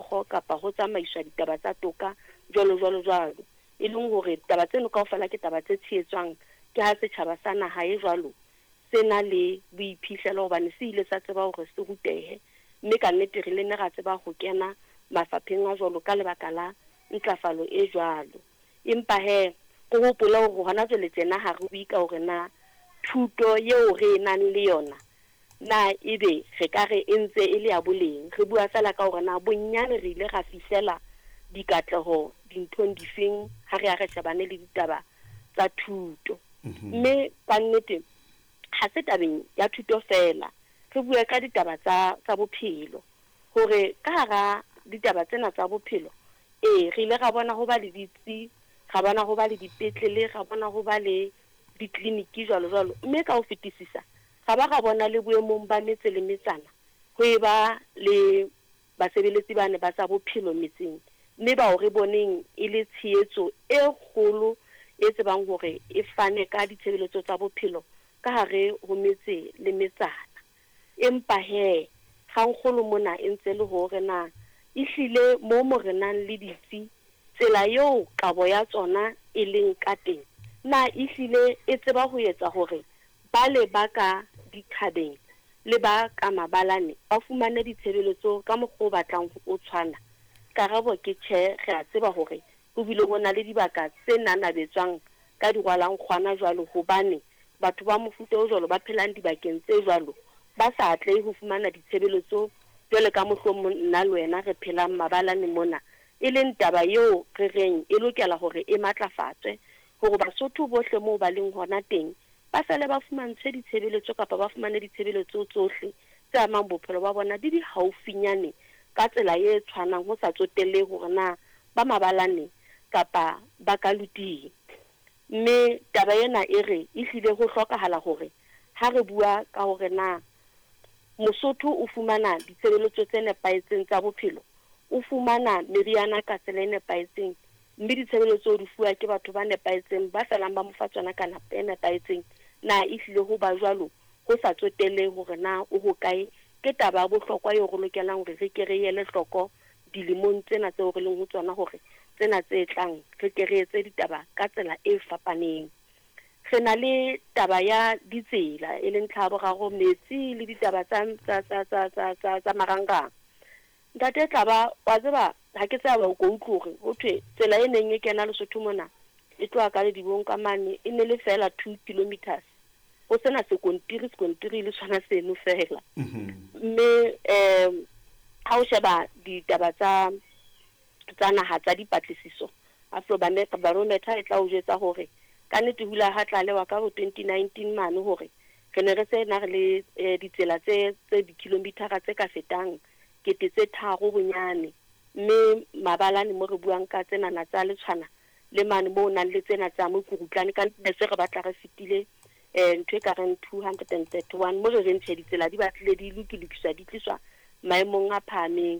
Meokgo kapa ho tsamaiswa ditaba tsa toka jwalo jwalo jwalo. E leng hore taba tseno kaofela ke taba tse tshehetswang ke ha setjhaba sa naha e jwalo se na le boiphihlelo hobane se ile sa tseba hore se rutehe mme ka nnete re le ne ra tseba ho kena mafapheng a jwalo ka lebaka la ntlafalo e jwalo. Empa he, re hopole hore hona jwale tjena ha re bue ka hore na thuto eo re e nang le yona na ebe re ka re e ntse e le ya boleng. Re bua feela ka hore na bonnyane re ile ra fihlela dikatleho dinthong difeng ha re ya re shebane le ditaba tsa thuto. Mme ka nnete ha se tabeng ya thuto feela, re bue ka ditaba tsa bophelo. Hore ka hara ditaba tsena tsa bophelo, ee, re ile ra bona ho ba le ditsi, ra bona ho ba le dipetlele, ra bona ho ba le ditleliniki jwalo jwalo. Mme ka ho fetisisa, ra ba ra bona le boemong ba metse le metsana ho e ba le basebeletsi bane ba tsa bophelo metseng, mme bao re boneng e le tshehetso e kgolo e tsebang hore e fane ka ditshebeletso tsa bophelo ka hare ho metse le metsana. Empa he, kgangkgolo mona e ntse le hore na ehlile moo mo re nang le ditsi, tsela eo kabo ya tsona e leng ka teng, na ehlile e tseba ho etsa hore bale ba ka dithabeng le ba ka mabalane ba fumane ditshebeletso ka mokgwa o batlang o tshwana? Karabo ke tjhe, re a tseba hore ho bile ho na le dibaka tse nanabetswang ka dirwalankgwana jwalo hobane batho ba mofuta o jwalo ba phelang dibakeng tse jwalo ba sa atlehe ho fumana ditshebeletso jwale ka mohlomong nna le wena re phelang mabalane mona, e leng taba eo re reng e lokela hore e matlafatswe hore Basotho bohle moo ba leng hona teng ba fele ba fumantshwe ditshebeletso kapa ba fumane ditshebeletso tsohle tse amang bophelo ba bona di di haufinyane ka tsela e tshwanang ho sa tsotellehe hore na ba mabalane kapa ba ka luting. Mme taba ena e re ehlile ho hlokahala hore ha re bua ka hore na Mosotho o fumana ditshebeletso tse nepahetseng tsa bophelo, o fumana meriana ka tsela e nepahetseng, mme ditshebeletso di fuwa ke batho ba nepahetseng ba felang ba mo fa tsona ka nako e nepahetseng, na ehlile ho ba jwalo ho sa tsotellehe hore na o hokae, ke taba ya bohlokwa eo re lokelang hore re ke re ele hloko dilemong tsena tseo re leng ho tsona hore tsena tse tlang re ke re etse ditaba ka tsela e fapaneng. Re na le taba ya ditsela e leng ntlha ya boraro, metsi le ditaba tsa marangrang. Ntate Tlaba, wa tseba ha ke tseba o ko utlwe hore ho thwe tsela e neng e kena Lesotho mona e tloha ka Ledibong ka mane e ne le feela 2 kilometers, ho sena sekontiri, sekontiri le sona seno feela. Mme ha o sheba ditaba tsa naha tsa dipatlisiso, Afrobarometer e tla o jwetsa hore ka nnete ho ile ha tlalewa ka bo 2019 mane hore re ne re se na re le ditsela tse dikilomitara tse ka fetang 3000 bonyane, mme mabalane mo re buang ka tsenana tsa Letshwana le mane mo o nang le tsena tsa mokurutlane ka ne se re batla re fetile ntho e ka reng 231 mo re reng tjhe, ditsela di batlile di lokilokiswa, di tliswa maemong a phahameng.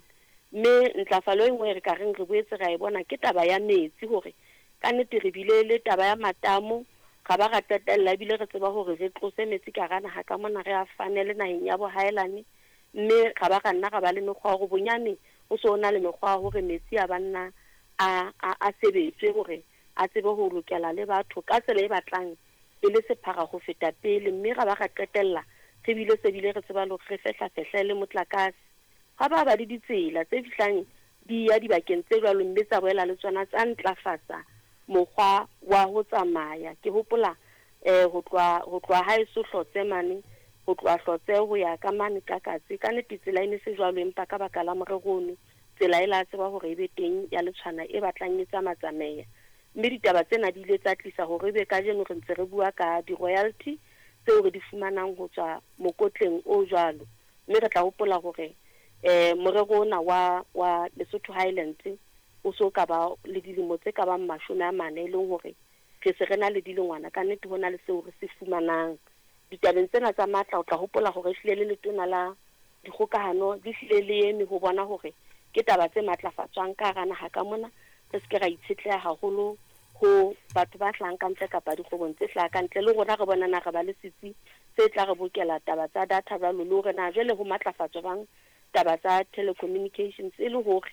Mme ntlafalo e nngwe re ka reng re boetse ra e bona ke taba ya metsi, hore ka nnete re bile le taba ya matamo, ra ba ra qetella ebile re tseba hore re tlose metsi ka hara naha ka mona re a fanele naheng ya bohaelane, mme ra ba ra nna ra ba le mekgwa ya hore bonyane ho so na le mekgwa ya hore metsi a banna a sebetswe hore a tsebe ho lokela le batho ka tsela e batlang e le sephara ho feta pele. Mme ra ba ra qetella re bile se bile re tseba le hore re fehla-fehle le motlakase, ga ba ba le ditsela tse fihlang di ya dibakeng tse jwalo, mme tsa boela le tsona tsa ntlafatsa mokgwa wa ho tsamaya. Ke hopola ho tloha haeso Hlotse mane, ho tloha Hlotse ho ya ka mane ka Katse, ka nnete tsela e ne se jwalo, empa ka baka la morero ono tsela e la tseba hore e be teng ya Letshwana e batlang e tsama-tsameya. Mme ditaba tsena di ile tsa tlisa hore ebe kajeno re ntse re bua ka di-royalty tseo re di fumanang ho tswa mokotleng o jwalo. Mme re tla hopola hore morero ona wa Lesotho Highlands o so ka ba le dilemo tse ka bang 40, e leng hore re se re na le dilengwana ka nnete ho na le seo re se fumanang ditabeng tsena tsa matla. O tla hopola hore ehlile le letona la dikgokahano le hlile le eme ho bona hore ke taba tse matlafatswang ka hara naha ka mona, re se ke ra itshetleha haholo ho batho ba hlahang ka ntle kapa dikgwebong tse hlahang ka ntle. Le rona re bona na re ba le setsi se tla re bokela taba tsa data jwalo, le hore na jwale ho matlafatswa bang taba tsa telecommunications e le hore